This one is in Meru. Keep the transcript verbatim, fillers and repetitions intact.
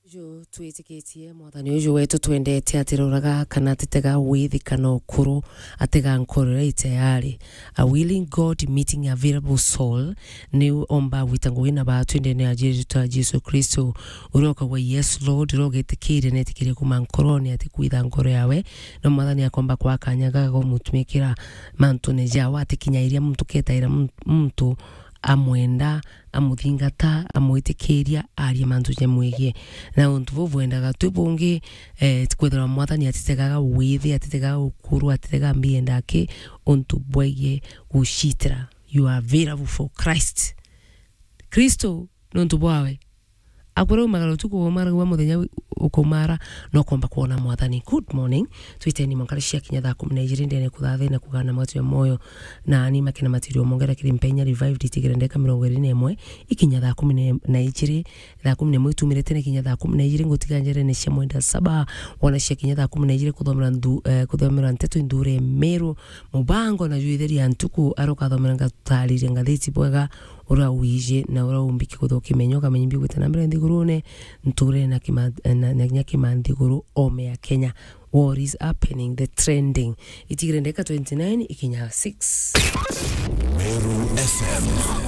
Uju twitikitie, Mwathani uju wetu twendete, atiroraga kana atitega withi kana ukuru, atega nkoro iria itayari. A willing God meeting a available soul, ni omba gwita ngugi na baatu ndene ya Jesu ta Jesu Kristo. Uria ukagwa, "Yes, Lord," uria ugitikiire na etikiire kuma nkorone, ati kwitha nkoro yawe, no Mwathani akomba kwa kanya gaga umutumikira mantune jawe, atikinyairia muntu, ketaira mun-, muntu amwenda, amuthingata, amwitikiria, aria mantu jamwigie. Na untu buu bwendaga twi bungi, eh, kwithirwa Mwathani atitegaga withi, atitegaga ukuru, atitegaga mbienda aki, untu bwegie gucitira. You are available for Christ. Kristo, nontu bwawe, akuraumaga utuku, umaragua muthenya wi-, ukumara, no komba kwona Mwathani. Good morning. Twiteni mwanka cia kinya thaa kumi na ijiri ndene kuthathina kugana matu ya moyo. Na ani makena matirio mongera kiri mpenya revived itigire ndeka mirongo iri na imwe ikinya thaa kumi na ijiri, thaa kumi na imwe itumire tene kinya thaa kumi na ijiri, ngutiga njerene cia mwenda saba, wona cia kinya thaa kumi na ijiri kuthomera nthu-, eh, kuthomera nteto inthure Meru, mubango na juitheria ntuku, arokathomera ngatariria ngathiti bwega, uria wiji na uria umbiki kuthukia kimenyo, ukamenya imbi gwita na mbere nthigurune, nture na kima-, na, na kinya kimanthiguru ome ya Kenya. What is happening? The trending. Itigire ndeka twenty-nine ikinya six. Meru F M.